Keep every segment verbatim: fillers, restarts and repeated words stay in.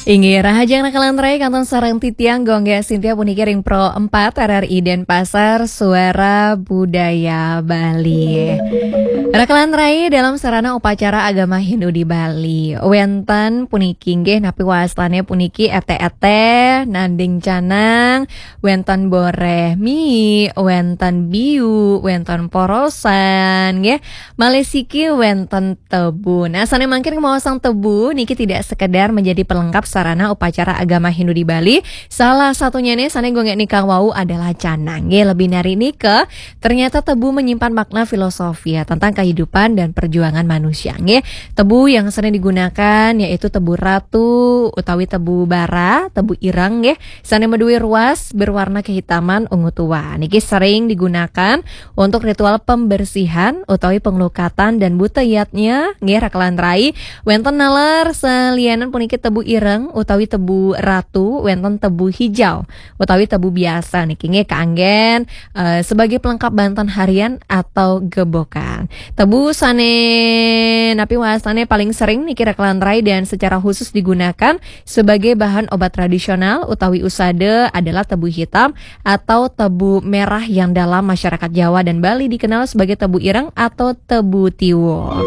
Inggih, rahajeng Raka lan Rai, kantun sareng titiang Gung Gek Sintia puniki ring Pro empat R R I Denpasar, Suara Budaya Bali. Raka lan Rai, dalam sarana upacara agama Hindu di Bali, wenten puniki inggih napi wastane puniki ete-ete, nanding canang, wenten boreh mie, wenten biu, wenten porosan, nggih. Malih siki wenten tebu. Nah, sane mangkin kemaosan tebu niki tidak sekedar menjadi pelengkap sarana upacara agama Hindu di Bali. Salah satunya nih, sane Gung Gek nikang wau adalah canang. Nggih, lebih nari nika, ternyata tebu menyimpan makna filosofi ya, tentang kehidupan dan perjuangan manusia. Nggih, tebu yang sering digunakan yaitu tebu ratu utawi tebu bara, tebu ireng nggih, sane maduwe ruas berwarna kehitaman ungu tua. Niki sering digunakan untuk ritual pembersihan utawi penglukatan dan buta yatnya nggih, Raka lan Rai. Wenten nalar salianan puniki tebu ireng utawi tebu ratu, wenten tebu hijau utawi tebu biasa niki nggih, kaanggen eh, sebagai pelengkap banten harian atau gebokan. Tebu sane napi wastane paling sering niki, Raka lan Rai, dan secara khusus digunakan sebagai bahan obat tradisional utawi usada adalah tebu hitam atau tebu merah yang dalam masyarakat Jawa dan Bali dikenal sebagai tebu ireng atau tebu tiwo.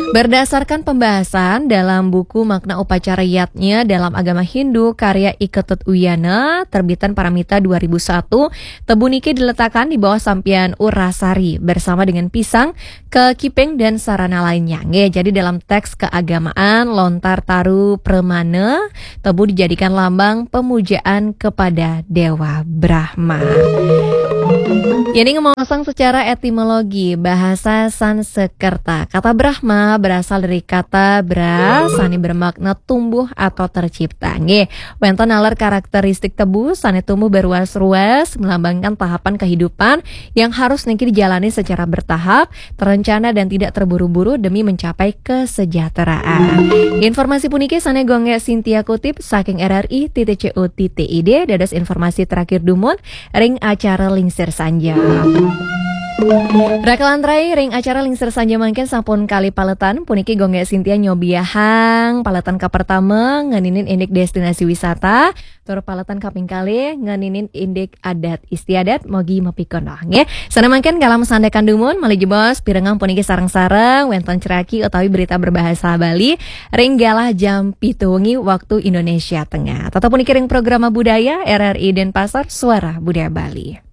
Berdasarkan pembahasan dalam buku Makna Upacara Yatnya dalam Agama Hindu karya I Ketut Wiyana, terbitan Paramita dua ribu satu, tebu niki diletakkan di bawah sampiyan Urasari bersama dengan pisang, kekiping, dan sarana lainnya. Nggih, jadi dalam teks keagamaan lontar taru premana, tebu dijadikan lambang pemujaan kepada Dewa Brahma. Ini ngomong secara etimologi bahasa Sanskerta. Kata Brahma berasal dari kata bra, sane bermakna tumbuh atau tercipta. Nggih, wenten nalar karakteristik tebu sane tumbuh berruas-ruas, melambangkan tahapan kehidupan yang harus niki dijalani secara bertahap, terencana, dan tidak terburu-buru demi mencapai kesejahteraan. Informasi puniki sane Gung Gek Sintia kutip saking R R I titik C O titik I D, dados informasi terakhir dumun ring acara Lingsir Sanja. Raka lan Rai, ring acara Lingsir Sanja mangkin sampun kalih paletan, puniki Gung Gek Sintia nyobiahang paletan kapertama ngeninin indik destinasi wisata, tur paletan kaping kalih ngeninin indik adat istiadat, mogi mapikenoh nggih. Sane mangkin kala masandekan dumun, malih jebos pirengang puniki sareng-sareng wenten ceraki utawi berita berbahasa Bali ring galah jam pitu wengi waktu Indonesia Tengah. Tetep puniki ring Programa Budaya R R I Denpasar, Suara Budaya Bali.